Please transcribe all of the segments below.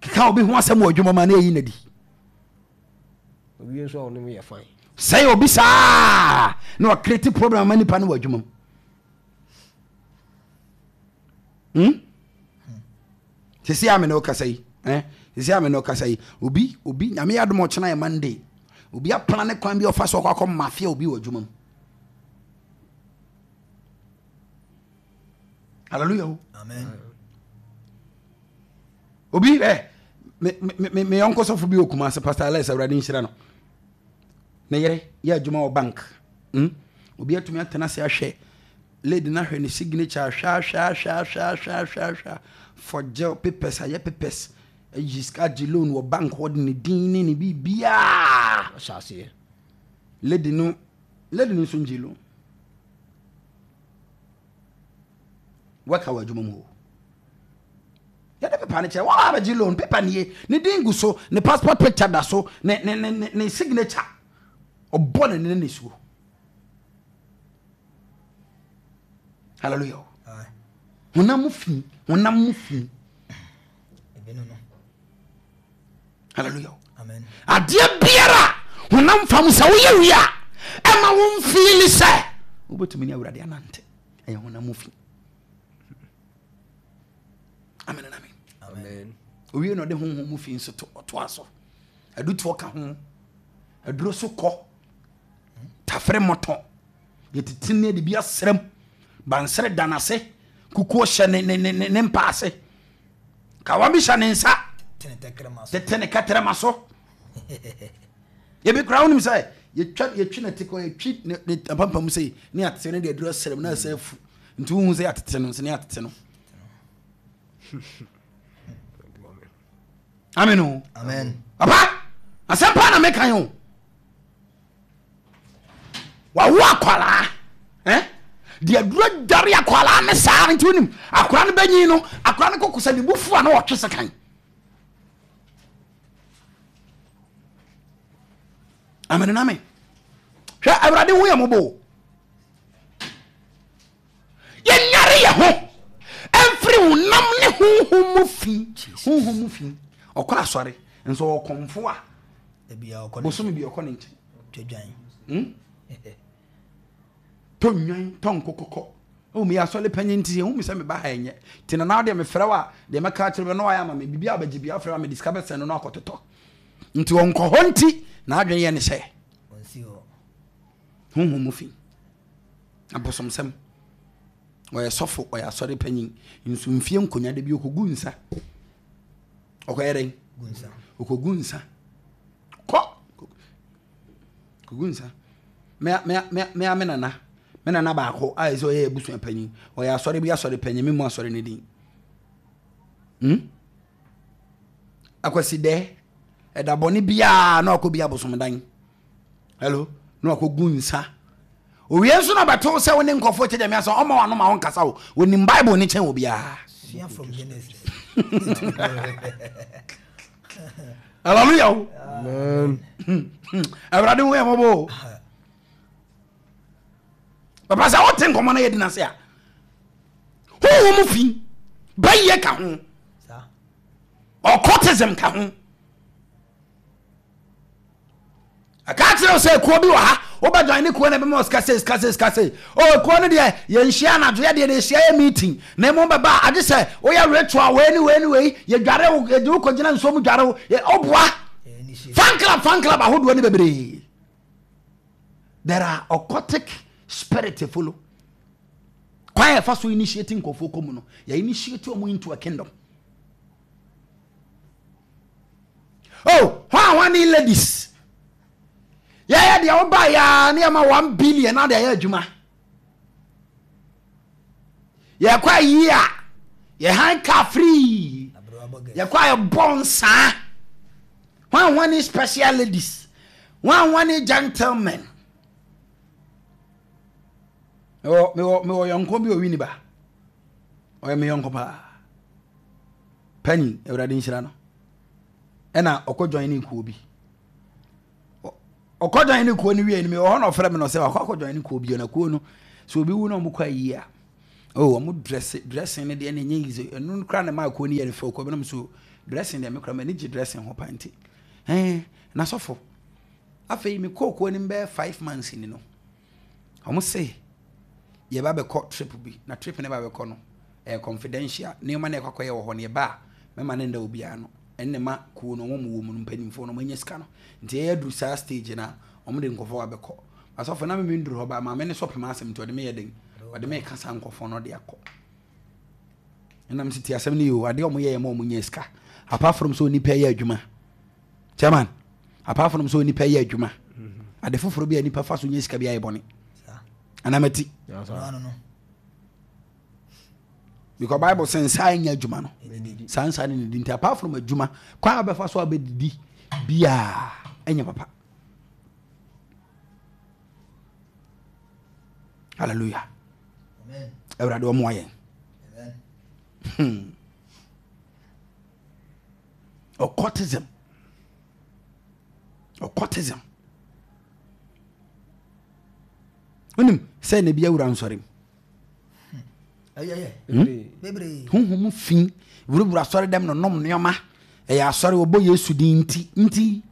Keka obi ho asɛm wɔ adwuma mu a na ɛyi nadi. Owie nso a ɔnom yɛ fine. Sɛe obi saa na ɔkreti problem ama nipa no wɔ adwuma mu. Hmm? Sisi a me ne ɔkasa yi, eh? Sisi a me ne ɔkasa yi, obi obi nyame yɛ adom ɔkyena yɛ Monday. Obi aplan ne kwan bi ɔfa so ɔkɔ akɔ mafia obi wɔ adwuma mu. Hallelujah. Amen. Obi eh me me me yɔnko sɔfo bi wɔ Kumasi Pastor Alex Awurade nhyira no. Ne yere yɛ adwuma wɔ bank. Hmm? Obi atumi atena ase ahwɛ lady no ahwɛ ne signature ahwɛ ahwɛ ahwɛ ahwɛ ahwɛ ahwɛ ahwɛ for jail papers ayɛ papers ayi sika agye loan wɔ bank hɔ de ne din ne ne biribiara. Ahyɛ aseɛ. Lady no lady no nso ngye loan. Worker wɔ adwuma mu hɔ. Yɛde pepa no kyerɛ wɔn a bɛgye loan pepa nie ne din gu so ne passport picture da so ne ne ne ne signature ɔbɔ ne ne ne suo. Hallelujah. Honam mu fi honam mu fi. Hallelujah. Amen. Adeɛ biara honam fam sɛ woyɛ wie a ɛma wo mfiili sɛ wobɛtumi ne awurade anante ɛyɛ honam mu fi. Amen and amen. Amen. Owie na ɔde honhom mu fi nso to ɔtoa so. Adutoɔ ka ho. Aduro so kɔ. Tafere mmɔtɔ. Yɛtete ne de bi asrɛm. Bansere da n'ase. Kukuo hyɛ ne ne ne ne mpa ase. Kawa bi hyɛ ne nsa. Tete ne kɛtrɛma so. Ebi koraa wonim sɛ yɛtwa yɛtwi ne te kɔ yɛtwi ne ne apampam sei ne yɛate ne de aduro asrɛm na ɛsɛ afu. Nti wohu sɛ yɛatete no nso ne yɛatete no. Amen o. Amen. Papa, asɛm paa na meka yi o. Wawo akwaraa eh? Deɛ aduro dware akwaraa ne saa nti wonim akwaraa no bɛnyin no akwaraa no koko sɛ ne bufu a na ɔtwe sekan. Amen na amen. Hwɛ awurade hu yɛ mɔbɔ o. Yɛnyare yɛ ho ɛmfiri honam ne honhom mu fi. Honhom mu fi. Ɔkɔ asɔre nso ɔkɔmfo a bosome bi ɔkɔ ne nkyɛn. Hmm? Tɔ nnwan, tɔ nkokɔkɔ. Oh, meyɛ asɔre panyin nti ehu me sɛ meba ha ɛnyɛ. Nti na na deɛ mefrɛ wo a, deɛ mɛka akyerɛ wo na wayɛ ama me. Biribi a bɛgye bi afrɛ a mede sika bɛsɛn no na akɔtotɔ. Nti ɔnkɔ hɔ nti n'adwene yɛ ne sɛ honhom mu fi. Abosomsɛm. Ɔyɛ sɔfo, ɔyɛ asɔre panyin. Nso mfie nkonya da bi ɔkɔgu nsa. Ɔkɔyɛ dɛn? Ɔkɔgu nsa. Kɔ! Kɔgu nsa. Me me me me me nana. Me nana baako a ɛsɛ ɔyɛ abusua panyin. Ɔyɛ asɔre bi asɔre panyin. Me mu asɔre ne din. Hmm? Akwasi dɛ. Ɛda bɔne biara na ɔkɔ bi abosomdan. Hello? Na wakɔgu nsa. Owie nso na ɔbɛto sɛ wo ne nkurɔfoɔ kyɛ gyame asɛ ɔma wano ma wo nkasa o. Onim Bible ne kyɛn obiara. Sua from Genesis. Hallelujah o. Amen. Awurade hu yɛ mmɔbɔ o. Papa sɛ wote nkɔmmɔ no yɛdi no ase a honhom fi bɛyɛ ka ho occultism ka ho Ɛka kyerɛ wo sɛ kuo bi wɔ ha wobɛjoin ne kuo no ɛbɛma sika sei sika sei sika sei o oh, kuo no deɛ yɛnhyia anadwo yɛ deɛ yɛhyia yɛ meeting na mmom bɛba a agye sɛ woyɛ ritual wei ne wei ne wei yɛdware wo yɛde wo kɔgyina nsuo mu dware wo woboa fan club fan club ahodoɔ ne bebree there are occultic spirit follow kwan a yɛfa so initiate nkurɔfoɔ kɔ mu no yɛ initiate wɔn into a kingdom Oh, hwan hwan ne ladies? Yɛyɛ deɛ woba yɛa ne yɛma 1 billion na de ayɛ adwuma. Yɛkɔ ayi a yɛhan car free. Yɛkɔ a yɛbɔ nsaa. Hwan hwan ne special ladies? Hwan hwan ne gentlemen? Mewɔ mewɔ mewɔ yɔnko bi owi ni ba. Ɔyɛ me yɔnko paa. Panyin, Awurade nhyira no. Ɛna ɔkɔ join ne kuo bi. Ɔkɔ join ne kuo no wie no, mewɔ hɔ na ɔfrɛ me na ɔsɛ wakɔ akɔ join ne kuo bi na kuo no sɛ obi wu na ɔmo kɔ ayie a. Oh, ɔmo dress dressing ne deɛ na ɛnyɛ easy. Ɛno koraa na ɛma kuo no yɛ no fɛ. Kuo bi nom so. Dressing deɛ mekora m'ani gye dressing ho pa nti. Ɛn, na sɔfo, afei mekɔɔ kuo no bɛyɛ 5 months ni no, ɔmo se yɛba bɛkɔ trip bi, na trip no ba bɛkɔ no ɛyɛ confidential. Nneɛma na ɛkɔ akɔyɛ wɔ hɔ no, yɛba a mɛma ne nda obiara no. Ɛnna ma kuo no wɔn wɔ mu no, mpanimfoɔ no wɔn anya sika no nti ɛyɛ aduru saa stage na wɔn de nkɔfoɔ abɛkɔ. Asɔfo na mimi nduru hɔ ba, maame ne sɔpem asɛm nti ɔde me yɛ den, ɔde me ka saa nkɔfoɔ no de akɔ. Ɛnam sɛ ti asɛm no yɛ o, adeɛ wɔn yɛ yɛ ma wɔn nya sika, apart from sɛ onipa yɛ adwuma. Chairman, apart from sɛ onipa yɛ adwuma, ade foforɔ bi a nipa fa so nya sika bi ayɛ bɔne anamati, because Bible sɛ nsa nyɛ adwuma no, saa nsa no nidi. Nti apart from adwuma, kwan a bɛfa so a bɛdidi biaa ɛnyɛ papa. Hallelujah. Awurade ɔmoa yɛn. Occultism, occultism, wonim sɛ na bi awura nsɔre mu. Honhom fi wurawura asɔre dɛm no nom nneɛma. Ɛyɛ asɔre, wɔbɔ Yesu din nti nti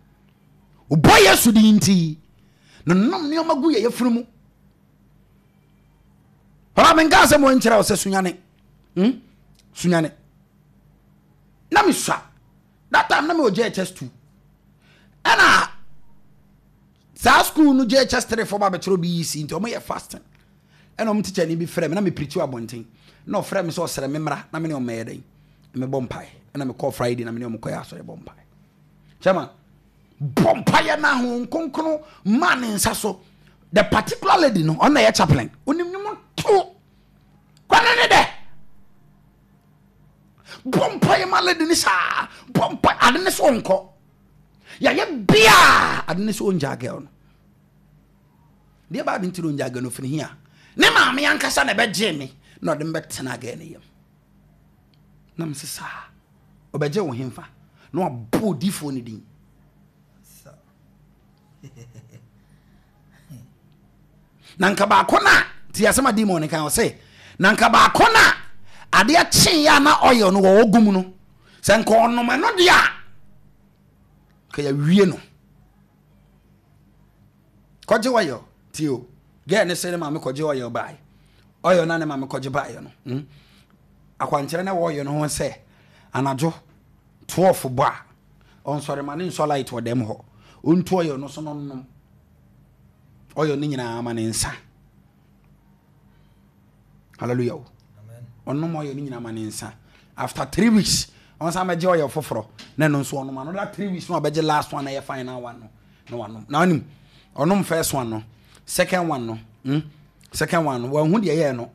wɔbɔ Yesu din nti no nom nneɛma gu yɛ yɛfunu mu. Papa, menka asɛm wɔ nkyerɛ wo sɛ sunyane, Sunyane na mesua that time na mewɔ JHS 2, ɛna saa school no JHS 3 fo ba bɛkyerɛ BEC, nti ɔmo yɛ fasting. Ɛna ɔmo teacher ni bi frɛ me na me preach wɔ abɔnten, na ɔfrɛ me sɛ ɔsrɛ me mmra na me ne ɔmo yɛ dɛn, mebɔ mpae. Ɛna mekɔɔ Friday na me ne ɔmo kɔyɛ asɔre bɔ mpae. Chairman, bɔ mpaeɛ na ho nkonkron maa ne nsa so. The particular lady no, ɔno na ɛyɛ chaplain, onim nwom to kwane ne dɛ. Bɔ mpaeɛ ma lady ne saa, bɔ mpaeɛ, ade ne so ɔnkɔ yɛayɛ biaa, ade ne so ɔngyaa girl no deɛ baa de nti na ɔngyaa girl no firi hia. Ne maame ankasa na ɛbɛgyee me na ɔde me bɛtena girl no yam na mese saa ɔbɛgye wo hemfa na wabɔ odiifoɔ no din. Na nka baako no a ti asɛm a demon no kan, ɔse na nka baako no a adeɛ kyeeɛ a na oil no wɔwɔ gu mu no, sɛ nka ɔnom ɛno deɛ a ka yɛawie no. Kɔgye oil tie o, girl ne sɛ ne maame kɔgye oil bae. Oil na ne maame kɔgye baeɛ no, Akwankyerɛ na ɛwɔ oil no ho sɛ anadwo 12 bɔ a, ɔnsɔre ma ne nsɔ light wɔ dɛm hɔ, ɔntu oil no so no nnom oil no nyinaa ma ne nsa. Hallelujah o. Ɔnom oil no nyinaa ma ne nsa. After 3 weeks, ɔnsan bɛgye oil foforɔ na ɛno nso ɔnom another 3 weeks na ɔbɛgye last one na ɛyɛ final one no na wanom. Na ɔnim ɔnom first one no, second one no, Second one no wɔn ho deɛ ɛyɛ no,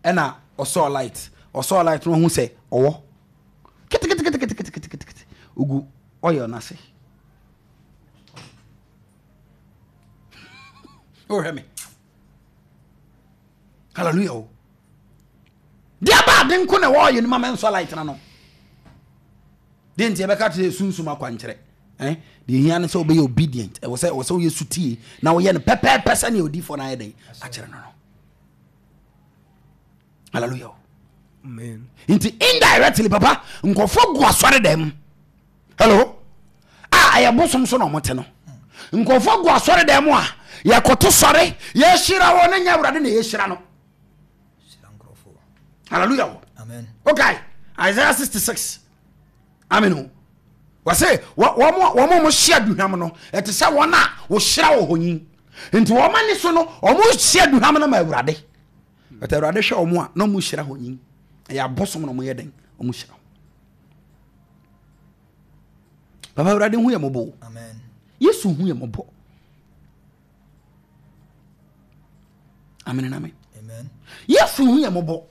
ɛna ɔsɔɔ light. Ɔsɔɔ light no, ɔho sɛ ɔwɔ keteketeketeketekete ogu oil n'ase. Ɔhwɛ me. Hallelujah o. Deɛ ba ade nko na ɛwɔ ɔyɛ no ma mɛnsɔ light na no deɛ nti yɛbɛka kyerɛ sunsum akwankyerɛ, eh? Deɛ hia ne sɛ wobɛyɛ obedient. Ɛwɔ sɛ woyɛ sutie na woyɛ no pɛpɛɛpɛ sɛnea odiifoɔ no ayɛ dɛn akyerɛ no. Hallelujah o. Amen. Nti indirectly, papa, nkɔfoɔ gu asɔre dɛm, hello, a ɛyɛ bosom so na ɔmo te no. Nkɔfoɔ gu asɔre dɛm a yɛkoto sɔre yɛhyira wɔ ne nyɛ Awurade na yɛhyira no. Hallelujah o. Amen. Okay, Isaiah 66, amen o. Wɔsɛ wɔn a wɔhyia aduhwam no, ɛte sɛ wɔn a wɔhyira wɔ hɔ yi. Nti wɔn ani so no, wɔn hyia aduhwam no ma Awurade, but Awurade hwɛ wɔn a na wɔn hyira hɔ yi, ɛyɛ abosom na wɔn yɛ dɛn, wɔn hyira. Papa, Awurade hu yɛ mmɔbɔ. Amen. Yesu hu yɛ mmɔbɔ. Amen and amen. Amen. Yesu hu yɛ mmɔbɔ.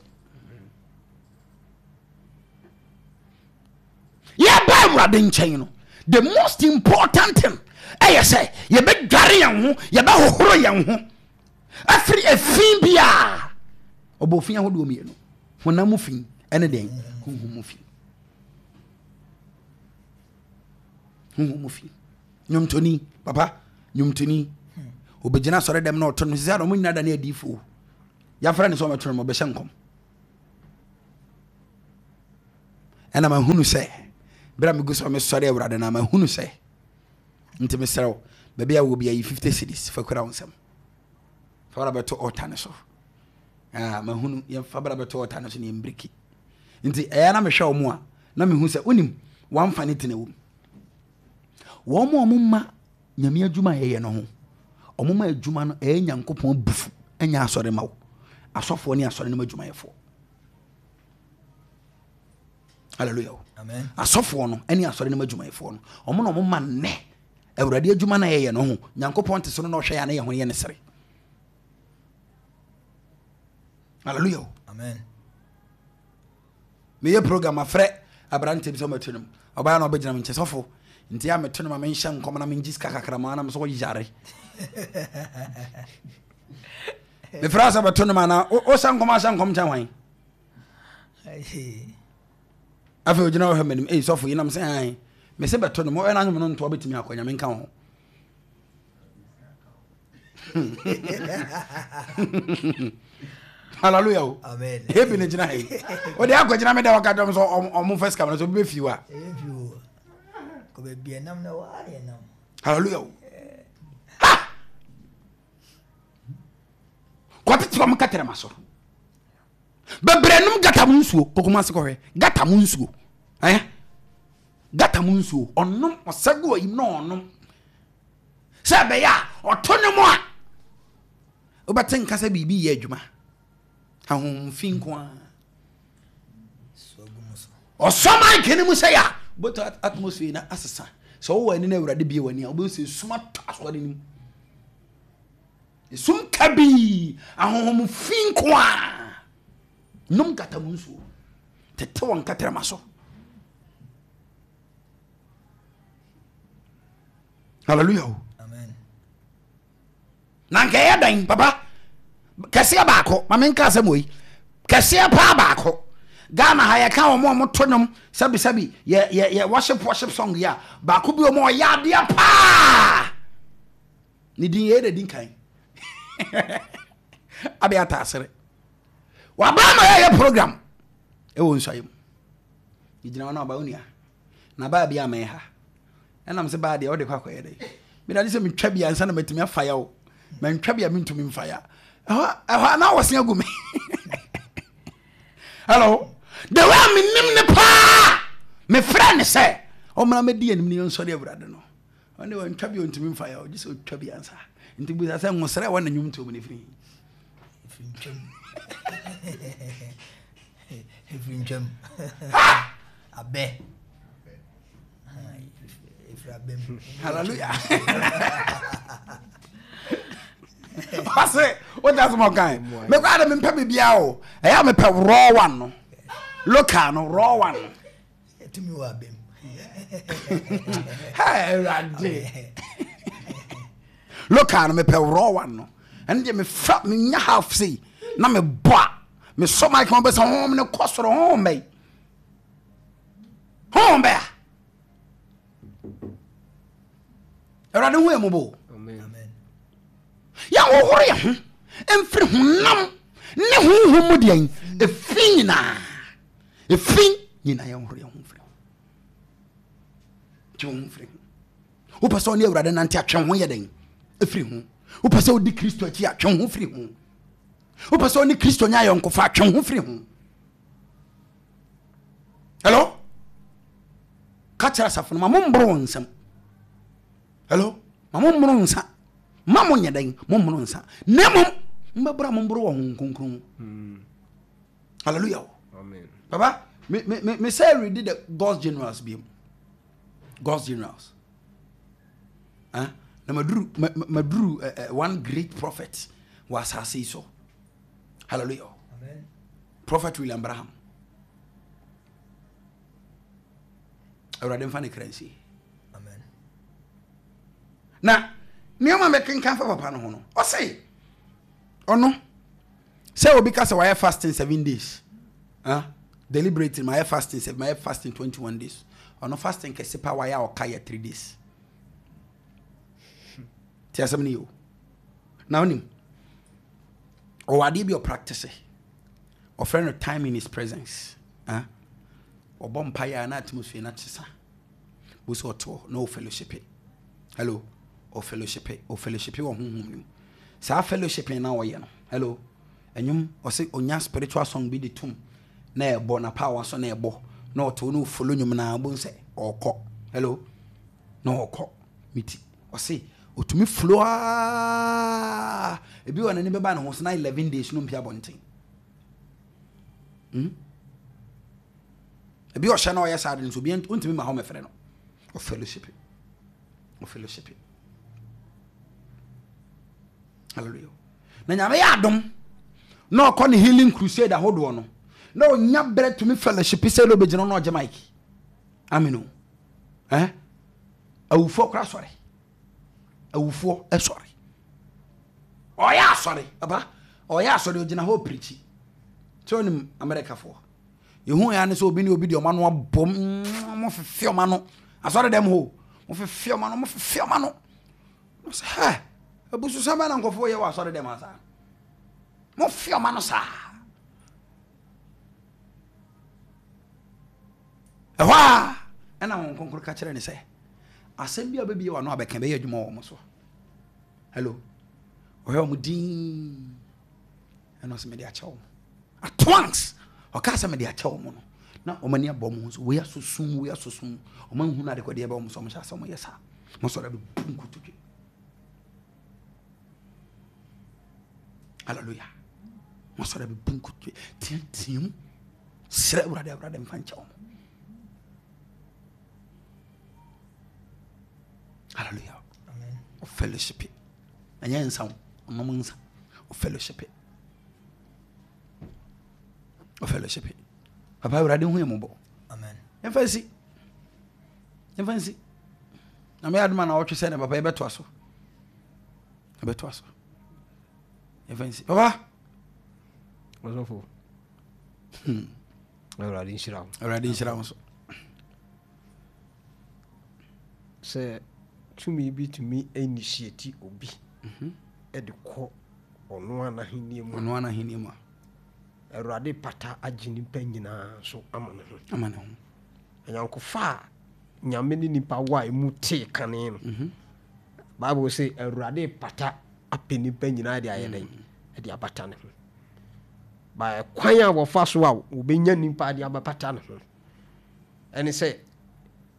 Yɛba Awurade nkyɛn no, the most important thing ɛyɛ sɛ yɛbɛdware yɛn ho, yɛbɛhohoro yɛn ho afiri efi biara. Ɔbɔ fi ahodoɔ mmienu, honam mu fi ɛne deɛn? Honhom mu fi. Honhom mu fi. Nnwomtoni, papa, nnwomtoni obɛgyina asɔre dɛm na ɔto no sɛ na ɔmo nyina da ne adiifoɔ yɛafrɛ ne sɛ ɔmɛto no, ɔbɛhyɛ nkɔm. Ɛna mahunu sɛ Berɛ a megu so a mesɔre Awurade no a mahunu sɛ nti mesrɛ wo baabi a wɔ bi ayi 50 cedis fa kura wo nsam fa bra bɛto ɔta no so. Ah, mahunu yɛmfa bra bɛto ɔta no so ne yɛmbreki. Nti ɛyɛ na mehwɛ wɔn a na mehu sɛ wonim wɔamfa ne tena wom. Wɔn a wɔn ma Nyame adwuma a yɛyɛ no ho. Ɔmo ma adwuma no ɛyɛ Nyankopɔn abufu ɛnyɛ asɔre ma wo. Asɔfoɔ ne asɔre no mu adwumayɛfoɔ. Hallelujah. Amen. Asɔfoɔ no ɛne asɔre no mu adwumayɛfoɔ no. Ɔmo na ɔmo ma nnɛ Awurade adwuma no a yɛyɛ no ho. Nyankopɔn te so no na ɔhwɛ yɛ a na yɛ ho yɛ ne sere. Hallelujah. Amen. Meyɛ program mafrɛ aberanteɛ bi sɛ ɔmmɛto nnwom. Ɔbaeɛ na ɔbɛgyina me nkyɛn, sɔfo, nti a meto no ma menhyɛ nkɔm na mengye sika kakra ma na mesɛ ɔyare. Mefrɛ sɛ bɛto no ma na wohyɛ nkɔm ahyɛ nkɔm kyɛn hwan? Afei ogyina hɔ hwɛ m'anim, ei sɔfo yi nam sɛ an mese bɛto no ma ɔyɛ n'anwom no ntoa bɛtumi akɔ nyame nka ho. Hallelujah o. Amen. Ebi ne gyina ha yi. O de akɔ gyina mi dɛ ɔka dɔm sɛ ɔmo fɛ sika mi sɛ obi bɛ fi wa. Hallelujah o. Ha! Kɔtete ɔmo kɛtɛrɛma so. Bebree nom gata mu nsuo kokoma ase kɔhwɛ gata mu nsuo. Eh? Gata mu nsuo ɔnom ɔsɛ gu ɔyim na ɔnom. Sɛ ɛbɛyɛ a ɔto ne mu a wobɛte nka sɛ biribi yɛ adwuma. Ahonhom fi nko ara. Ɔsɔ mic no mu sɛ yɛ a wobɛtɔ atmosphere na asesa. Sɛ wowɔ ani na Awurade bie w'ani a wobɛhu sɛ esum atɔ asɔre no mu. Esum kabii, ahonhom fi nko ara. Nom gata mu nsuo. Tete wɔn kɛtrɛma so. Hallelujah. Amen. Na nka ɛyɛ dɛn papa? Kɛseɛ baako, ma menka asɛm wɔ yi. Kɛseɛ paa baako. Ghana ha yɛka wɔn a wɔto nnwom sɛbisɛbi yɛ yɛ yɛ worship worship song yi a baako bi wɔn a ɔyɛ adeɛ paa. Ne din yɛ na di nkan. Abe ataasere. Waba ma yɛyɛ program ɛwɔ nsuayɛ mu. Yɛgyina hɔ na ɔba onua. Na baa bi amɛn ha. Ɛnam sɛ baa deɛ ɔde kɔ akɔyɛ dɛ. Meda de sɛ metwa bi ansa na matumi afa ya o. Mantwa bi a mentumi mfa ya. Ɛhɔ ɛhɔ na wɔse agu me. Hello. The way a menim ne paa. Mefrɛ ne sɛ ɔmmra mɛdi anim ne yɛnsɔre Awurade no. Ɔne wantwa bi ɔntumi mfa ya ɔgye sɛ ɔtwa bi ansa. Nti busa sɛ nwosrɛ wɔ ne nnwom tuo mu ne firi. Ɛfiri ntwam. Ɛfiri ntwam. Abɛ. Hallelujah. Ɔse wogya sɛ mɔkan mekɔ ade mempɛ biribiaa o ɛyɛ a mepɛ raw one no local no raw one no tumi wɔ abam awurade local no mepɛ raw one no ɛno deɛ mefa menya half sei na mebɔ a mesɔ mic ma bɛsɛ honhom no kɔ soro honhom bɛyi honhom bɛya awurade hu yɛ mmɔbɔ yɛhohoro yɛ ho mfiri honam ne honhom mu deɛ ɛfi nyinaa ɛfi nyinaa yɛhohoro yɛ ho mfiri ho twe ho mfiri ho wopɛ sɛ ɔne awurade nante atwe ho yɛ dɛn ɛfiri ho wopɛ sɛ wodi kristo akyi atwe ho firi ho wopɛ sɛ ɔne kristo nya ayɔnkofa atwe ho firi ho Hello? Ka kyerɛ asafo no ma momboro wɔn nsam. Hello? Ma mommoro nsa. Ma monyɛ dɛn? Mommoro nsa. Na mmom mbɛboro a momboro wɔ Honhom Kronkron mu. Hmm. Hallelujah. Amen. Papa, me me me me sɛ read the God's generals bi mu. God's generals. Huh? Na maduru maduru uh, uh, one great prophet wɔ asase yi so. Hallelujah. Amen. Prophet William Branham. Awurade mfa ne kra nsie. Amen. Na nneɛma mɛkenkan fa papa no ho no, ɔse ɔno sɛ obi ka sɛ wayɛ fasting 7 days, huh? Deliberately mayɛ fasting 7, mayɛ fasting 21 days. Ɔno fasting kɛse pa wayɛ a ɔka yɛ 3 days. Ti asɛm no yɛ o. Na wonim ɔwɔ adeɛ bi ɔpractice ɔfrɛ no time in his presence. Ɔbɔ mpaeɛ a na atmosphere no akyesa. Wo sɛ ɔte hɔ na o fellowship. Hello, o fellowship, o fellowship wɔ honhom no mu. Saa fellowship na ɔyɛ no. Hello, ɛnwom ɔsɛ onya spiritual song bi de tum na ɛbɔ na power so na ɛbɔ na ɔte hɔ na ofolo nwom na ɔbɛn sɛ ɔkɔ. Hello, na ɔkɔ meti ɔse otumi flow aa ebi wɔ n'ani bɛba ne ho so na 11 days no mpia abɔnten. Hmm? Ebi ɔhyɛ na ɔyɛ saa de nso obi ntumi ma hɔ mɛfrɛ no. Ɔfellowship. Ɔfellowship. Hallelujah. Na nyame yɛ adom na ɔkɔ ne healing crusade ahodoɔ no na ɔnya berɛ tumi fellowship sɛ na ɔbɛgyina na ɔgye mic. Amen o. Eh? Awufoɔ kora sɔre. Awufoɔ sɔre. Ɔyɛ asɔre, papa. Ɔyɛ asɔre ɔgyina hɔ pirikyi. Sɛ ɔnim Amerikafoɔ. Yɛhu ya ne sɛ obi ne obi de ɔma no abom, ɔmo fefe ɔma no. Asɔre dɛm hɔ, ɔmo fefe ɔma no, ɔmo fefe ɔma no. Ɔsɛ hɛ, abususɛm bɛn na nkurɔfoɔ yɛ wɔ asɔre dɛm ha saa? Mo fe ɔma no saa. Ɛhɔ a ɛna wɔn kronkron ka kyerɛ ne sɛ, asɛm bi a wobɛbie w'ano abɛka bɛyɛ adwuma wɔ wɔn so. Hello. Ɔhwɛ wɔn din. Ɛna ɔsɛ mede akyɛ wɔn. At once, ɔka sɛ mede akyɛ wɔn no. Na wɔn ani abɔ wɔn ho so. Wei aso sum, wei aso sum. Wɔn ahunu adekɔdeɛ bɛ wɔn so. Wɔn hyɛ asɛ wɔn yɛ saa. Wɔn sɔrɔ abɛbu nkotodwe. Hallelujah. Wɔn sɔrɔ abɛbu nkotodwe. Teateam. Srɛ Awurade, Awurade mfa nkyɛ wɔn. Hallelujah. Fellowship. Ɛnyɛ nsa o, ɔnom nsa. O fellowship. O fellowship. Papa Awurade hu yɛ mmɔbɔ. Amen. Yɛmfa nsi. Yɛmfa nsi. Na meyɛ adoma na ɔtwe sɛ ne papa yɛbɛtoa so. Yɛbɛtoa so. Yɛmfa nsi. Papa. Ɔsɔfo. Awurade nhyira wo. Awurade nhyira wo so. Sɛ tumi bi tumi initiate obi mhm. de kɔ ɔno ara n'ahenni mu. Ɔno ara n'ahenni mu a. Awurade pata agye nipa nyinaa so ama ne ho. Ama ne ho. Anyankofa a nyame ne nipa wɔ a emu tee kane no. Mhm. Bible sɛ Awurade pata apɛ nipa nyinaa de ayɛ dɛn? Mm. De abata ne ho. Ba kwan a wɔfa so a wɔbɛnya nipa de abɛpata ne ho ɛne sɛ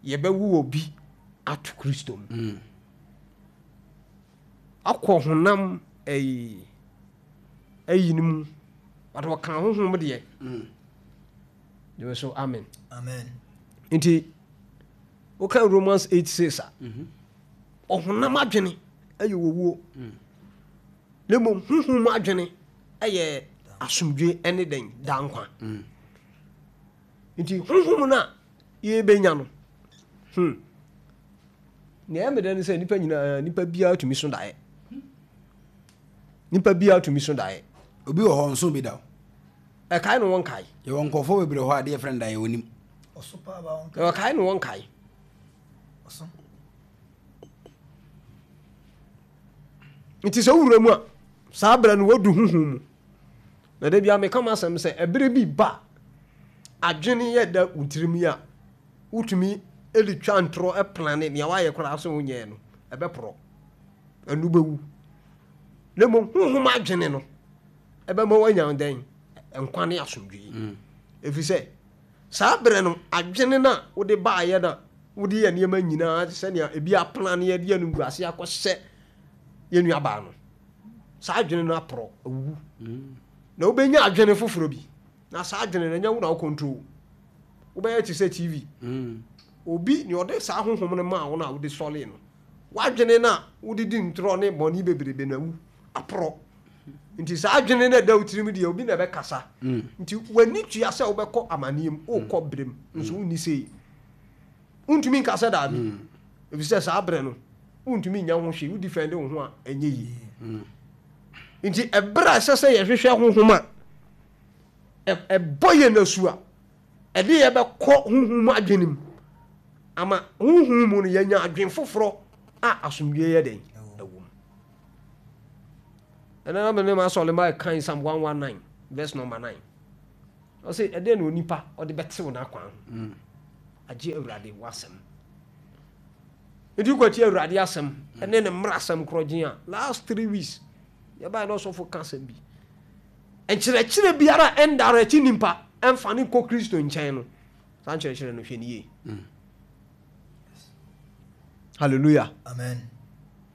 yɛbɛwo obi ato Kristo mu. Mm. Akɔ honam ɛyi ɛyi no mu. But wɔka honhom deɛ. Mm. Gyeme so amen. Amen. Nti woka Romans 8 6 a mm-hmm. ɔhonam adwene ɛyɛ owuo. Mm. Na mmom honhom adwene ɛyɛ asomdwe ɛne dɛn daa nkwa. Mm. Nti honhom no a yɛbɛnya no, hmm, nea ɛyɛ me dɛ ne sɛ nipa nyinaa, nipa biara tumi so daeɛ. Nipa biara tumi so daeɛ. Obi wɔ hɔ nso bi da o. Ɛkae no wɔnkae. Yɛwɔ nkurɔfoɔ bebree hɔ a adeɛ frɛ no daeɛ wɔnim. Ɛkae no wɔnkae. Nti sɛ wowura mu a, saa berɛ no woadu honhom mu. Na da biara meka m'asɛm sɛ ɛberɛ bi ba a adwene yɛ da wo tirim yi a wotumi de twa ntorɔ plane nea woayɛ koraa sɛ wonyɛɛ no ɛbɛporɔ ɛno bɛwu na mmom honhom adwene no ɛbɛma woanya dɛn nkwa ne asomdwee mm. ɛfiri sɛ saa berɛ no adwene no a wode baayɛ no a wode yɛ nneɛma nyinaa sɛnea ebi aplane yɛde animguase akɔhyɛ yɛn nuabaa no saa adwene no aporɔ awuwu na wobɛnya adwene foforɔ bi na saa adwene no ɛnyɛ wo na wo control wobɛyɛ te sɛ tv mm. obi nea ɔde saa honhom no maa wo no a wode sɔlee no w'adwene no a wode di ntorɔ ne bɔne bebrebe no awu aporɔ nti saa adwene no ɛda wo tirim deɛ obi na ɛbɛkasa mm. nti w'ani tua sɛ wobɛkɔ amanneɛ mu wokɔ mm. berɛ mu nso wonni sei Wontumi nka sɛ daabi, efisɛ saa berɛ no, wontumi nnya ho hwee, wo defend wo ho a, ɛnyɛ yie. Nti ɛberɛ a ɛsɛ sɛ yɛhwehwɛ honhom a ɛbɔ yɛn asu a, ɛde yɛ bɛkɔ honhom mu adwene mu, ama honhom mu no yɛanya adwene foforɔ a asomdwoeɛ yɛ dɛn ɛwɔ mu. Ɛnna na mene m'asɔre ma ɛkan Psalm 119 verse number 9. Ɔse ɛdɛn na onipa ɔde bɛtew n'akwan ho? Agye Awurade w'asɛm. Nti wokɔtie Awurade asɛm ne ne mmarasɛm korɔgyen a, last 3 weeks yɛbaeɛ na ɔsɔfo ka asɛm bi. Nkyerɛkyerɛ biara a ɛndirect nipa ɛmfa ne nkɔ Kristo nkyɛn no, saa nkyerɛkyerɛ no hwɛ ne yie. Hallelujah. Amen.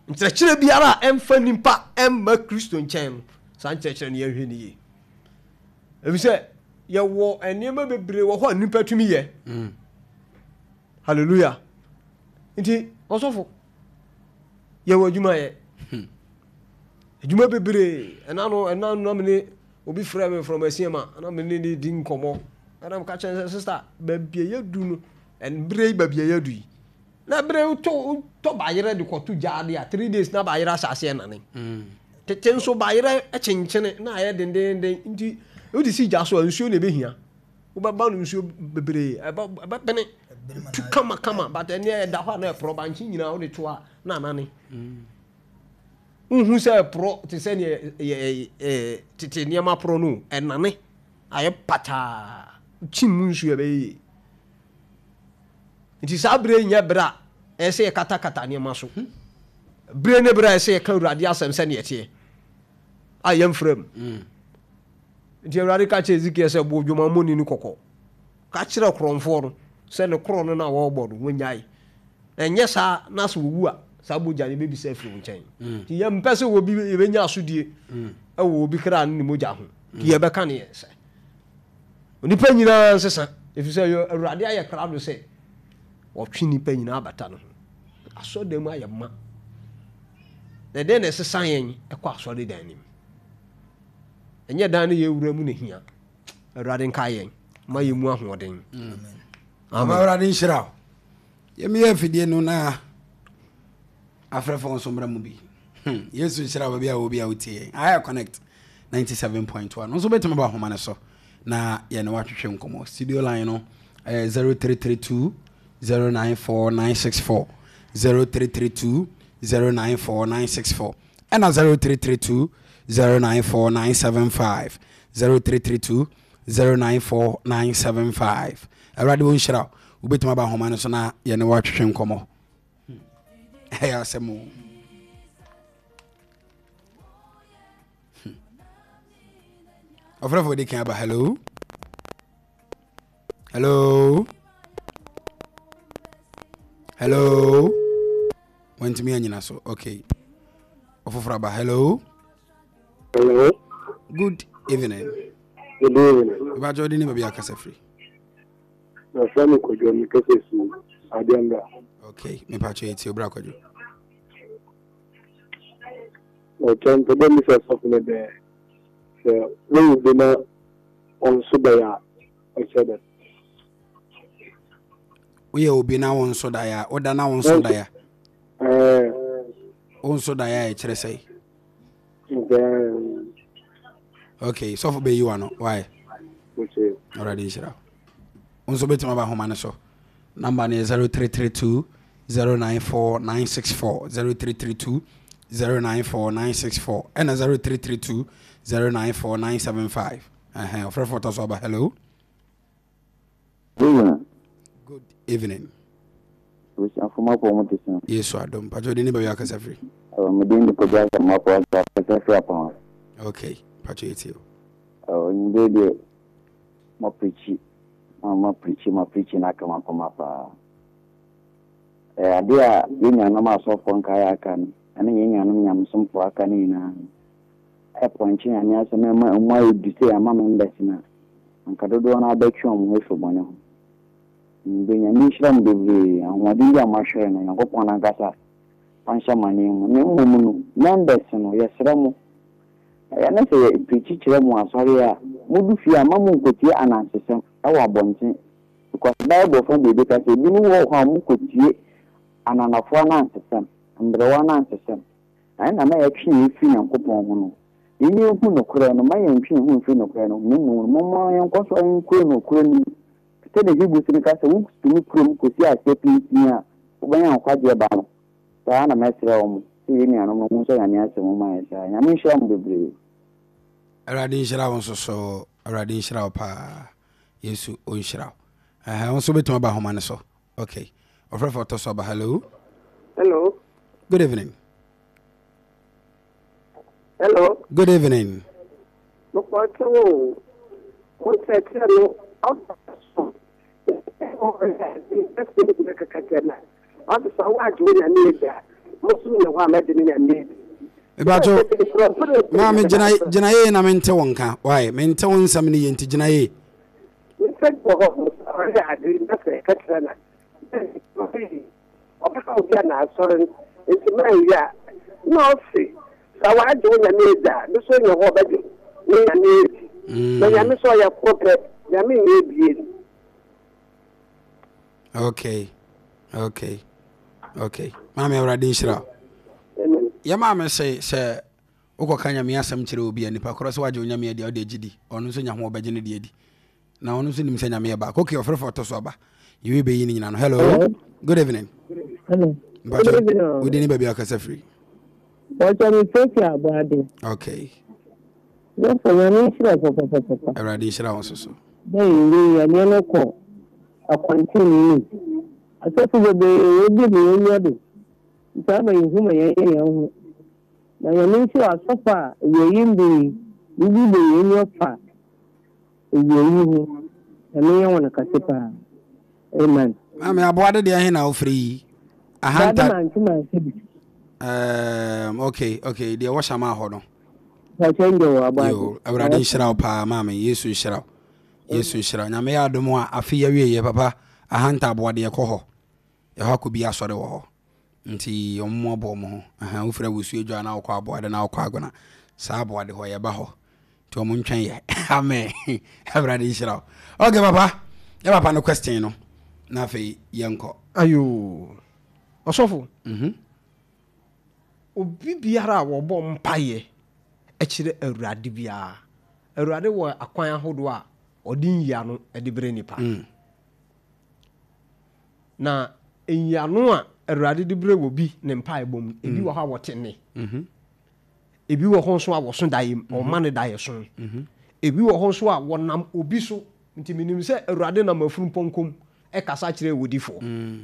Nkyerɛkyerɛ biara a ɛmfa nipa ɛmma Kristo nkyɛn no, saa nkyerɛkyerɛ no yɛnhwɛ ne yie. Efisɛ yɛwɔ nneɛma bebree wɔ hɔ a nipa tumi yɛ. Hallelujah. Nti ɔsɔfo yɛwɔ adwuma yɛ. Adwuma bebree. Ɛna no ɛna no na mene obi frɛ me from Asiama na mene ne di nkɔmmɔ. Ɛna meka kyerɛ sɛ sister baabi a yɛdu no ɛnberɛ yi baabi a yɛdu yi. Na berɛ wotɔ wotɔ bayerɛ de kɔto gyaade a 3 days na bayerɛ ahyɛ aseɛ nane. Tete nso bayerɛ kyenkyene na ayɛ dendenden nti wode si gya so a nsuo na ɛbɛhia. Wobɛba no nsuo bebree ɛbɛbene tu kama kama but ɛneɛ ɛda hɔ a na ɛporɔ bankye nyinaa wode to a na anane. Wohu sɛ ɛporɔ te sɛ neɛ tete nneɛma porɔ no ɛnane ayɛ pataa kyim mu nsuo ɛbɛyɛ yie. Nti saa berɛ yi nyɛ berɛ a ɛyɛ sɛ yɛkatakata nneɛma so. Berɛ ne berɛ a ɛsɛ sɛ yɛka Awurade asɛm sɛdeɛ ɛteɛ a yɛmfra mu. Nti Awurade ka kyerɛɛ Ezekiel sɛ, Bɔ odwamammɔni no kɔkɔ. Ka kyerɛ korɔmfoɔ no sɛ ne korɔn no a wɔrebɔ no, wɔnnyae. Na ɛnyɛ saa na sɛ wɔwu a, saa mogya no yɛbɛbisa afiri wo nkyɛn. Nti yɛmpɛ sɛ obi yɛbɛnya asodie wɔ obi kra ne ne mogya ho. Nti yɛbɛka ne yɛn sɛ, onipa nyinaa nsesa, ɛfiri sɛ Awurade ayɛ krado sɛ ɔtwe nnipa nyinaa bata ne ho. Asɔredan mu ayɛ ma. Na ɛdɛn na ɛsesa yɛn kɔ asɔredan no mu? Ɛnyɛ dan no yɛwura mu na hia. Awurade nkae yɛn ma yɛn mu ahoɔden. Amen. Awurade nhyira wo. Yɛmeyɛ afidie no na afrɛfo nso mmra mu bi. Yesu nhyira wo baabi a wɔ bi a wotie yɛn. Ayɛ Connect 97.1. Nso bɛtumi ba ahoma no so na yɛne watwetwe nkɔmmɔ. Studio line no ɛyɛ 0332 094 964 0332 094 964 ɛna 0332 094 975 0332 094 975. Awurade wo nhyira wo. Wobɛtumi aba ahoma no so na yɛne watwetwe nkɔmmɔ. Ɛyɛ asɛm o. Ɔfrɛfo di kan aba. Hello, hello, hello. Wantumi anyina so. Okay, ɔfoforɔ aba. Hello. Hello. Good evening. Good evening. Ìbájọ́ ọdún ní baabi akasa firi. Yɛfrɛ me Kwadwo, mekasa fi Adeɛmbra. Okay, mepatwa eti obra Kwadwo. Ɔkyɛ mpɛ dɛ misa sɔfo no dɛ sɛ wowu bi na ɔnso daeɛ a ɔkyerɛ dɛn? Woyɛ obi na wo nso daeɛ a, woda na wo nso daeɛ a? Ɛɛ. Wo nso daeɛ a ɛkyerɛ sɛn? Okay, sɔfo bɛyi wa no, why? Okay. Awurade nhyira wo. Nso bɛtumi aba ahoma no so. Number no yɛ 0332 094 964 0332 094 964 ɛna 0332 094 975. Ɛhɛn, ɔfrɛfo ɔtɔ so aba. Hello. Good Good evening. Abusuafo mapɔ mo te sɛn? Yesu adom. Patro de ne baabi akasa firi. Ɛwɔ me din de Kwadwo Asamoah Akasa firi Apɔn. Okay, patro yɛ tie o. Ɛwɔ nyimire deɛ mo pirikyi ma ma pirikyi ma pirikyi na aka makoma paa. Ɛyɛ adeɛ a yɛn nuanom asɔfoɔ nkaeɛ aka no ɛne yɛn nuanom nyamesomfoɔ aka no nyinaa no ɛpɔnkye Nyame asɛm ɛma ɛmu ayɛ du sɛ ama members no a anka dodoɔ no abɛtwe wɔn ho afiri bɔne ho. Mede Nyame nhyira mo bebree, ahoɔden bi a moahwere no, Nyankopɔn ankasa ɔnhyɛ mo ananmu. Na mmom no, members no, yɛsrɛ mo, ɛyɛ ne sɛ yɛ preachi kyerɛ mo asɔre a, modu fie a, mma monkotie anansesɛm wɔ abɔnten. Because Bible fa baabi ka sɛ, ebinom wɔ hɔ a wɔkɔtie ananafoɔ anansesɛm, mberewa anansesɛm. Na ɛna na yɛtwe yɛn firi Nyankopɔn ho no. Yɛn yɛnhu nokorɛ no, mma yɛntwe yɛn ho mfiri nokorɛ no ho, na mmom no, momma yɛnkɔ so nkuro nokorɛ no mu. Sɛdeɛ Hebrews no ka sɛ, Wotumi kura mu kɔsi aseɛ pintinn a, wobɛnya nkwagyeɛ ba no. Saa ara na mɛsrɛ wɔn sɛ yɛn nuanom no monsɔ Nyame asɛm mu ma yɛn saa. Nyame nhyira mo bebree. Awurade nhyira wo nso so. Awurade nhyira wo paa. Yesu ɔnhyira wo. Ɛhɛn, wo nso wobɛtumi aba ahoma no so. Okay. Ɔfrɛfo ɔtɔ so aba. Hello. Hello. Good evening. Hello. Good evening. Mepɔtɔ o, mo nkyerɛkyerɛ no ɔba so. Mepakyɛw, maame gyina gyina yie na mente wo nka. Why? Mente wo nsɛm no yie nti gyina yie. Ɔbɛka obi a n'asɔre no nti manwie a, nna ɔse, Sɛ ɔagye wo Nyame edzi a, no so nye hɔ ɔbɛgye ne Nyame edzi. Na Nyame so ɔyɛ kor pɛ, Nyame nnyɛ ebien. Okay, okay, okay. Maame Awurade nhyira wo. Yɛ maame se sɛ wokɔka Nyame asɛm kyerɛ obi a nipa korɔ sɛ wagye wo Nyame adi a wode agye di, ɔno nso nya ho ɔbɛgye ne deɛ adi. Na ɔno nso nim sɛ Nyame yɛ baako. Okay, ɔfrɛfo ɔtɔ so aba. Yɛwie bɛyi ne nyina no. Hello. Hello. Good evening. Hello. Mpakyɛ, wodi ne baabi akasa firi. Mpakyɛ me firi Aboade. Okay. Dɔfo Nyame nhyira wo papapapapa. Awurade nhyira wo nso so. Dɛ yɛwie yi adeɛ no kɔ akwanten no mu. Asɔfo bebree wɔdi mu yɛn nya do. Nti ama yɛhu ma yɛyɛ yɛn ho. Na Nyame nhyira asɔfo a awieyi mber yi wobuebue yɛn enyiwa fa awieyi ho. Nyame nyɛ hɔn kɛse paa. Amen. Maame aboade deɛ he na wofiri yi? Ahanta. Aboade mante mante bi. Um, okay, okay, deɛ wɔ hyama hɔ no. Yo, Awurade nhyira wo paa maame, Yesu nhyira wo. Yesu nhyira wo. Nyame yɛ adom a afe yɛ wie yɛ papa ahanta aboade yɛkɔ hɔ. Yɛhɔ akɔ bi asɔre wɔ hɔ. Nti ɔmo mo abɔ ɔmo ho. Aha, wofiri awusu adwa na wokɔ aboade na wokɔ agona. Saa aboade hɔ yɛba hɔ. Nti ɔmo ntwɛn yɛ. Amen. Awurade nhyira wo. Okay papa, yɛ papa no question no. Na afei yɛnkɔ. Ayo. Ɔsɔfo. Mhm. Obi biara a wɔbɔ mpaeɛ kyerɛ Awurade biara, Awurade wɔ akwan ahodoɔ a ɔde nyiano de brɛ nipa. Mm. Na nyiano a Awurade de brɛ wɔ bi ne mpaebɔ mu, ebi mm. wɔ hɔ a wɔte nne. Mm-hmm. Ebi wɔ hɔ nso a wɔso daeɛ mu, ɔma mm-hmm. no daeɛ so. Mm-hmm. Ebi wɔ hɔ nso a wɔnam obi so. Nti menim sɛ Awurade nam afunumpɔnkɔ mu kasa kyerɛɛ odifoɔ.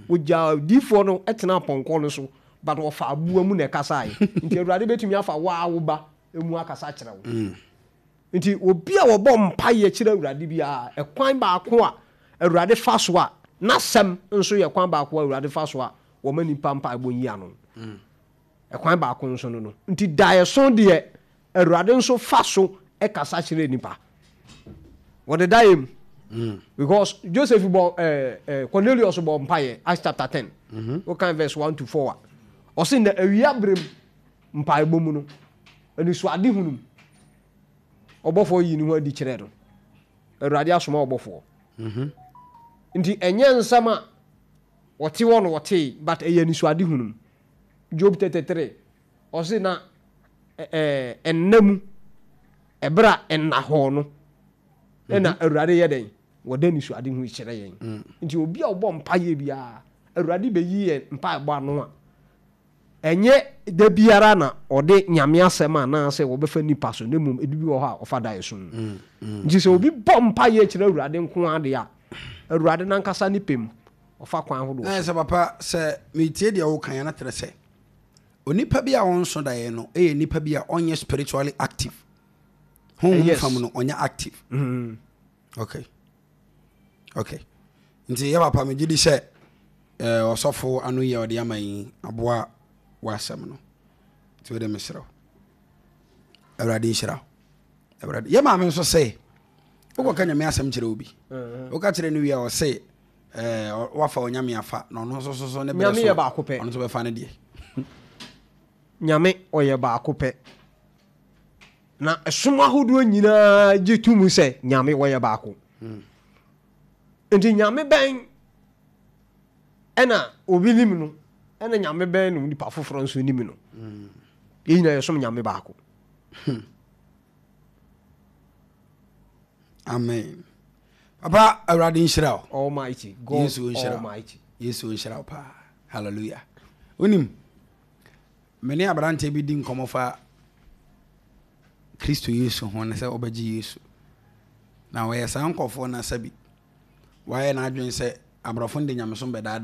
Ɔgyaa odifoɔ no tenaa pɔnkɔ no so, but ɔfaa aboa mu na ɛkasaeɛ. Nti Awurade bɛtumi afa wo ara wo ba mu akasa akyerɛ wo. Nti obi a ɔbɔ mpaeɛ kyerɛ Awurade biara, ɛkwan baako a Awurade fa so a, n'asɛm nso yɛ kwan baako a Awurade fa so a wɔma nnipa mpaebɔ nyi ano. Ɛkwan baako nso no no. Nti daeɛso deɛ Awurade nso fa so kasa kyerɛ nipa. Wɔde daeɛ mu. Mm. Because Joseph bɔ eh, eh, Cornelius bɔ mpaeɛ Acts chapter 10. Mm -hmm. Wokan verse 1 to 4 a. Ɔse na awia berɛ mu mpaebɔ mu no anisoade hunu mu ɔbɔfoɔ yii ne ho adi kyerɛɛ no. Awurade asoma ɔbɔfoɔ. Mm -hmm. Nti ɛnyɛ nsɛm a wɔte hɔ no wɔtee but ɛyɛ anisoade hunu mu. Job 33 Ɔse na ɛɛ nna mu, ɛberɛ a nna hɔɔ no, ɛna mhm. Awurade yɛ dɛn? Wɔda nisuade ho kyerɛ yɛn. Mm. Nti obi a ɔbɔ mpaeɛ biara, Awurade bɛyi yɛn mpaebɔ ano a, ɛnyɛ da biara na ɔde nyame asɛm anaasɛ wɔbɛfa nipa so, na mmom ebi bi wɔ hɔ a ɔfa daeɛ so. Mm, mm, Nti sɛ obi bɔ mpaeɛ kyerɛ Awurade nko ara deɛ a, Awurade n'ankasa ne pɛ mu, ɔfa kwan ahodoɔ so. Na sɛ papa, sɛ metie deɛ woka yɛ na kyerɛ sɛ Onipa bi a ɔnso daeɛ no yɛ nipa bi a ɔnyɛ spiritually active. Honhom yes. fam no ɔnyɛ active. Mm. Okay. Okay. Nti yɛ papa megye di sɛ eh, ɔsɔfo ano yi a ɔde ama yi aboa w'asɛm no. Nti wode mesrɛ wo. Awurade nhyira wo. Awurade. Yɛ maame nso sɛ wokɔka nyame asɛm kyerɛ obi. Mm. Woka kyerɛ no wie a ɔse Eh, wafa onyame afa na ɔno nso so so ne berɛ Nyame so yɛ baako pɛ. ɔno nso bɛfa ne deɛ. Nyame ɔyɛ baako pɛ. Na ɛsom ahodoɔ nyinaa gye to mu sɛ Nyame ɔyɛ baako. Hmm. Nti Nyame bɛn ɛna obi nim no ɛna Nyame bɛn na onipa foforɔ nso nim no. Hmm. Yɛn nyinaa yɛsom Nyame baako. Hmm. Amen. Papa Awurade nhyira wo. Almighty God Yesu nhyira Almighty. Yesu nhyira wo paa. Hallelujah. Wonim, me ne aberanteɛ bi di nkɔmmɔ fa Kristo Yesu ho ne sɛ ɔbɛgye Yesu. Na ɔyɛ saa nkɔfoɔ no asa bi. Wayɛ n'adwene sɛ aborɔfo no de nyamesom bɛdaadaa.